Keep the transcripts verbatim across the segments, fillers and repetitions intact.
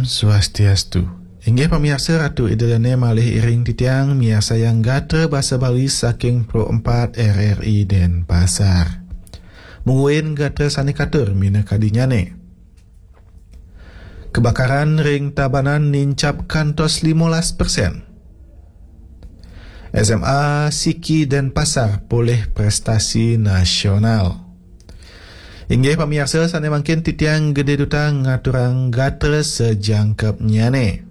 Swastiastu. Inggih pamiarsa, Ratu Ida Dane malih iring titiang miarsayang gatra basa Bali saking Pro empat R R I Denpasar. Mungguing gatra sane katur minakadinyane. Kebakaran ring Tabanan nincap kantos limolas persen. S M A Siki Denpasar polih prestasi nasional. Inggih pamiarsa, sane mangkin titiang Gede Duta ngaturang gatra sajangkepnyane.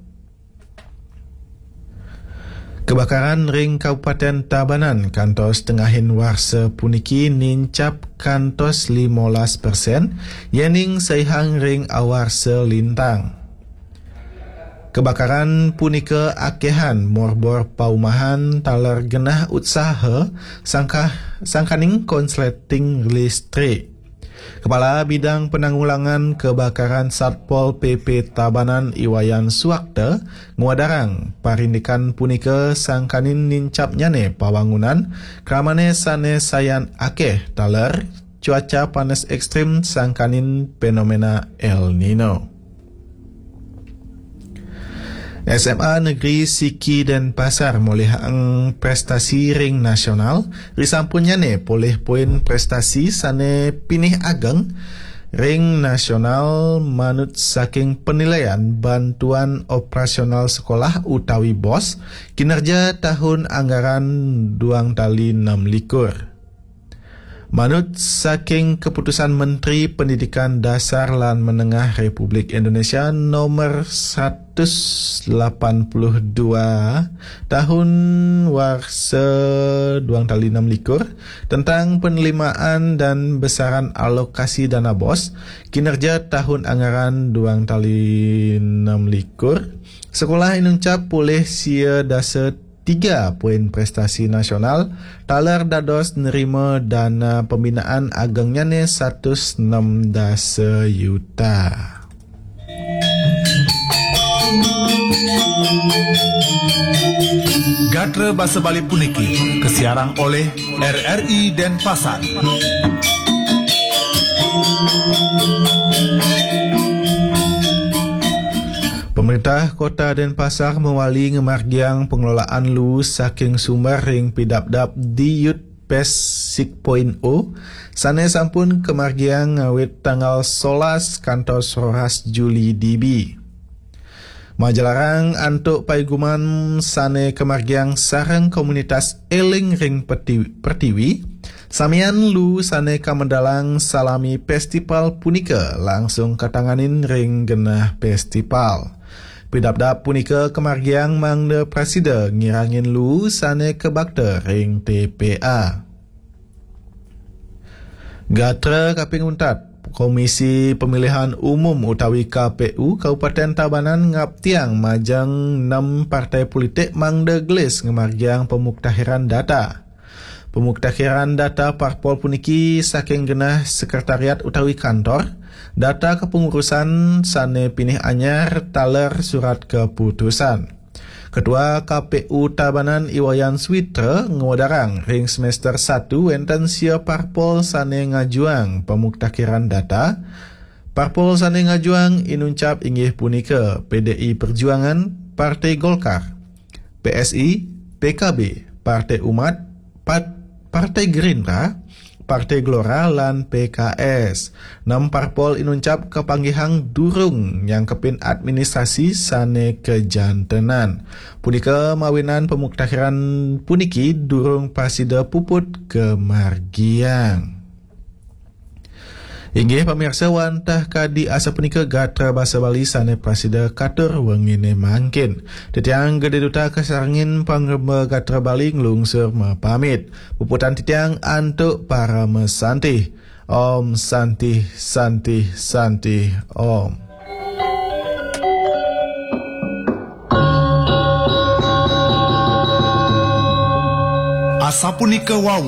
Kebakaran ring Kabupaten Tabanan kantos tengahin warsa puniki nincap kantos limolas persen, yening saihang ring awarsa lintang. Kebakaran punika akehan morbor paumahan taler genah utsaha sangkah, sangkaning konsleting listrik. Kepala Bidang Penanggulangan Kebakaran Satpol P P Tabanan Iwayan Suwakta ngwedarang parindikan punika sangkaning nincapnyane pawangunan kramane sane sayan akeh taler cuaca panas ekstrim sangkaning fenomena El Nino. S M A Negeri Siki Denpasar molihang prestasi ring nasional, risampunnyane polih poin prestasi sane pinih ageng ring nasional manut saking penilaian bantuan operasional sekolah utawi bos kinerja tahun anggaran duang tali enam likur. Manut saking Keputusan Menteri Pendidikan Dasar lan Menengah Republik Indonesia nomor seratus lapan puluh dua tahun warsa duang tali enam likur tentang penerimaan dan besaran alokasi dana bos kinerja tahun anggaran duang tali enam likur, sekolah inuncap polih sia dasa tiga poin prestasi nasional taler dados nerima dana pembinaan agengnyane satus enam dasa yuta. Gatra basa Bali puniki kasiarang oleh R R I Denpasar. Pemerintah Kota Denpasar mawali ngamargiang pengelolaan lu saking sumber ring pidabdab di Youth Pest six point o sane sampun kamargiang ngawit tanggal solas kantos roras Juli D B. Majalarang antuk paiguman sane kamargiang sareng komunitas Eling ring Peti-, Pertiwi, samian lu sane kamedalang salami festival punika langsung katanganin ring genah festival. Pidabdab punika kamargiang mangda prasida ngirangin lu sane kabakta ring T P A. Gatra kaping untat, Komisi Pemilihan Umum utawi K P U Kabupaten Tabanan ngaptiang majeng nem partai politik mangda gelis ngamargiang pemuktahiran data. Pemuktahiran data parpol puniki saking genah sekretariat utawi kantor, data kepengurusan sane pinih anyar taler surat keputusan. Ketua K P U Tabanan Iwayan Switra ngwedarang ring semester satu wenten sia parpol sane ngajuang pemuktakiran data. Parpol sane ngajuang inuncap inggih punika P D I Perjuangan, Partai Golkar, P S I, P K B, Partai Umat, Pat-, Partai Gerindra, Partai Gelora lan P K S. Enam parpol inuncap kapanggihang durung nyangkepin administrasi sane kajantenan. Punika mawinan pemuktakiran puniki durung prasida puput kamargiang. Inggih pamirsa, wantah kadi asapunika gatra basa Bali sane prasida katur wengine mangkin. Titiang Gede Duta kasarengin pangremba gatra Bali nglungsur mapamit. Puputan titiang antuk parama santih. Om Santih, Santih, Santih, Om. Asapunika wau